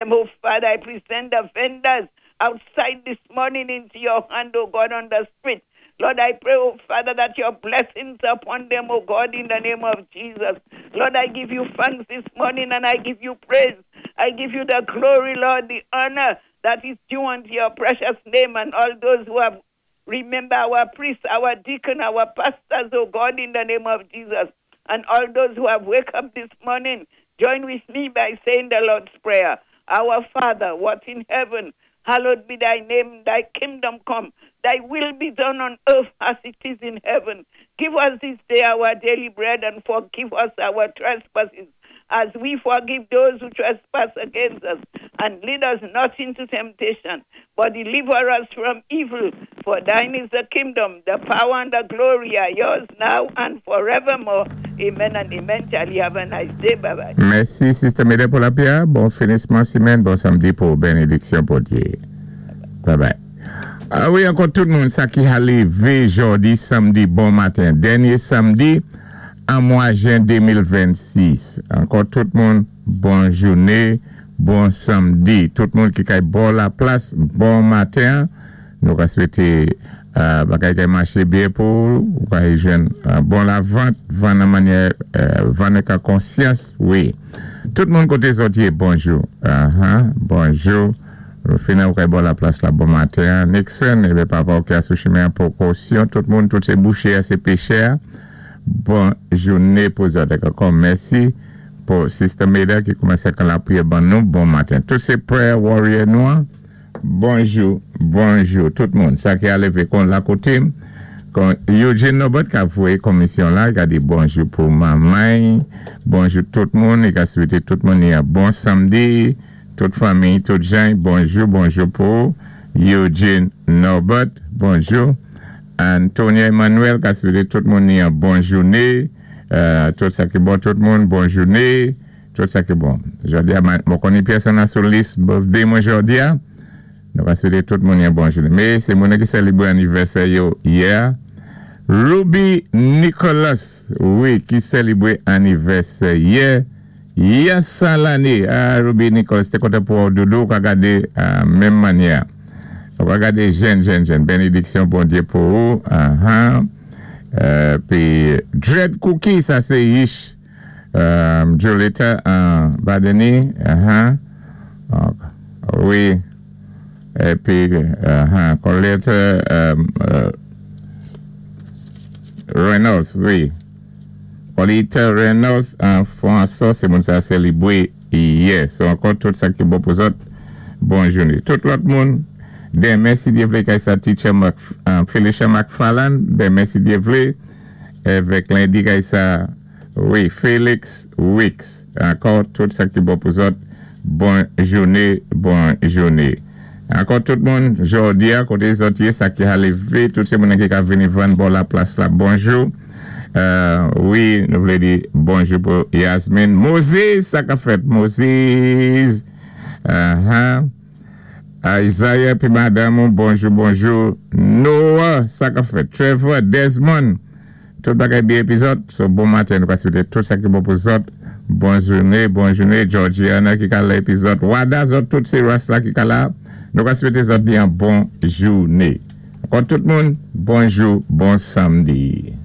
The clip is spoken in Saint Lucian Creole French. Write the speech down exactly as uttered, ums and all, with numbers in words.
Oh, Father, I present the vendors outside this morning into your hand, oh God, on the street. Lord, I pray, oh Father, that your blessings upon them, oh God, in the name of Jesus. Lord, I give you thanks this morning and I give you praise. I give you the glory, Lord, the honor that is due unto your precious name and all those who have remember our priests, our deacon, our pastors, oh God, in the name of Jesus. And all those who have woke up this morning, join with me by saying the Lord's Prayer. Our Father, what in heaven, hallowed be thy name, thy kingdom come, thy will be done on earth as it is in heaven. Give us this day our daily bread and forgive us our trespasses as we forgive those who trespass against us. And lead us not into temptation, but deliver us from evil. For thine is the kingdom, the power, and the glory are yours now and forevermore. Amen and amen. Charlie, have a nice day. Bye bye. Mèsi, Sister Meda pou lapwiyè. Bon finisman simenn, bon sanmdi pou bénédiksyon Bondyé. Bye bye. Ah wi, ankò tout moun sa ki a lévé jòdi sanmdi bon maten. Dènyé sanmdi an mwa jen de mil vennsis. Ankò tout moun, bon jouné, bon sanmdi. Tout moun ki kay bò laplas, bon maten. Nou ka swété euh, bagay kay maché byen pou ou kay jwenn euh, bon lavant, vann an mannyè, euh, vann ak konsyans, wi. Tout moun koté zòt yé, bonjou. Uh-huh, bonjou. Rufina ou kay bò laplas la, bon maten. Nixon, ébé papa ou ki a sou chimen pou kosyon. Tout moun, tout sé bouché, sé péchè. Bon jouné pou zòt. Ankò mèsi pou Sister Meda ki koumansé kan lapwiyè ban nou. Bon maten. Tout sé prayer warrior nou. Bonjou, bonjou, tout moun. Sa ki a lévé kon la koté. Kon Eugene Norbert ka voyé komisyon la, i ka di bonjou pou manmay, bonjou tout moun, i ka swété tout moun yon bon sanmdi, tout fanmi, tout jan, bonjou, bonjou pou Eugene Norbert, bonjou. Antonia Emmanuel ka swété tout moun yon bon jouné, euh, tout sa ki bon tout moun, bon jouné, tout sa ki bon. Jòdi a, mwen konnen pèsonn nan sou lis birthday mwen jòdi a, nou ka swété tout moun yon bon jouné. Mé sé moun ki sélébwé anivèsè yo yè. Ruby Nicholas, wi, ki sélébwé anivèsè yè. Yè san lanné. Ah, Ruby Nicholas, té kontan pou doudou, ka gadé uh, menm mannyè. Ou ka gadé jèn, jèn, jèn. Bénédiksyon Bondyé pou ou. Uh-huh. Euh, pi Dread Cookie, sa sé Yish. Um, Jolita uh, Badeni. Uh-huh. Uh, wi. Épi, uh-huh. Colette um, uh, Reynolds, wi. Colette Reynolds, an François, sé moun sa sélébwé yè. So ankò tout sa ki bon pou zòt, bon jouné. Tout lòt moun, denmen si Dye vlé kay sa teacher Mac, um, Felicia McFarland, denmen si Dye vlé, avèk lendi kay sa, wi, Felix Wicks. Ankò tout sa ki bon pou zòt, bon jouné, bon jouné. Ankò tout moun, jòdi a, koté zòt yé, sa ki a lévé, tout sé moun ki ka vini vann bò laplas la, bonjou. Euh, wi, nou vlé di bonjou pou Yasmine. Moses, sa ka fèt, Moses. Uh-huh. Isaiah pi madame, bonjou, bonjou. Noah, sa ka fèt. Trevor, Desmond. Tout bagay byen épi zòt. So, bon maten, nou ka swété tout sa ki bon pou zòt. Bon jouné, bon jouné. Georgiana ki ka la épi zòt. Wada zòt, tout sé ras la ki ka la. Nou ka swété zòt byen bon jouné. Ankò tout moun, bonjou, bon sanmdi.